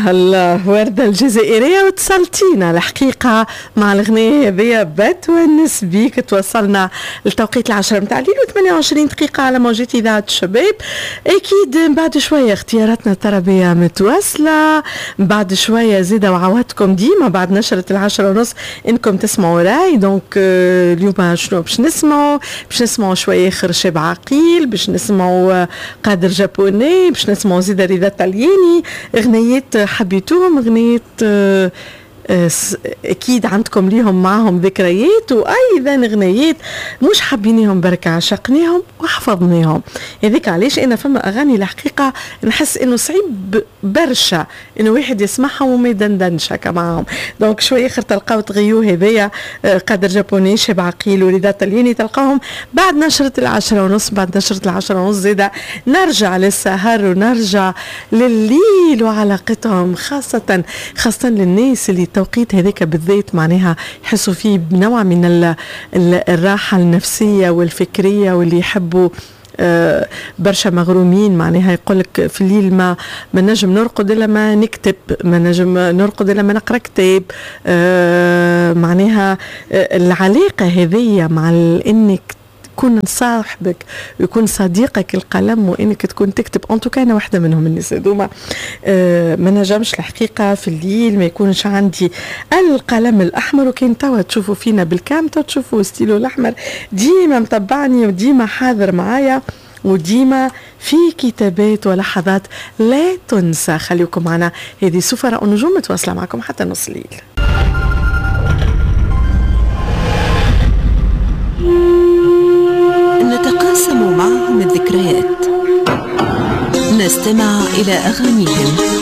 الله الله، وردة الجزائرية وتصلتينا الحقيقة مع الغنية هذيا بتونس بيك. توصلنا لتوقيت 10 متاع الليل و28 دقيقة على موجات إذاعة الشباب. أكيد بعد شوية اختياراتنا التربية متواصلة، بعد شوية زيادة وعواتكم ديما بعد نشرة 10:30 إنكم تسمعوا راي. donc اليوم شنو باش نسمعوا؟ باش نسمعوا شوية خرشاب عقيل، باش نسمعوا قادر جابوني، باش نسمعوا زيادة رضا طلياني. اغنيات حبيتوهم، اغنيات اكيد عندكم ليهم معهم ذكريات، وايضا اغنيات مش حابينيهم بركة عشقناهم وحفظناهم. هذيك علاش انا فما اغاني الحقيقة نحس انه صعيب برشا انه واحد يسمعهم وما يدندنش هكا معاهم. donc شوية اخر تلقاو تغيو هذايا قادر جابوني، شاب عقيل، ورضا طلياني، تلقاهم بعد نشرة 10:30. بعد نشرة 10:30 زادة نرجع للسهر ونرجع لليل وعلاقتهم، خاصة خاصة للناس اللي التوقيت هذاك بالذات معناها يحسوا فيه بنوع من الراحة النفسية والفكرية، واللي يحبوا برشا مغرومين معناها يقولك في الليل ما نجم نرقد الا ما نكتب، ما نجم نرقد الا ما نقرا كتاب. معناها العلاقة هذية مع انك تكون صاحبك ويكون صديقك القلم وانك تكون تكتب. en tout cas انا واحدة منهم الناس هذوما، ما نجمش الحقيقة في الليل ما يكونش عندي القلم الاحمر. وكان توا تشوفوا فينا بال cam، توا تشوفوا ستيلو الاحمر ديما متبعني وديما حاضر معايا وديما في كتابات ولحظات لا تنسى. خليكم معنا، هذه سفراء النجوم متواصلة معكم حتى نص الليل. نتقاسم معهم الذكريات، نستمع إلى أغانيهم.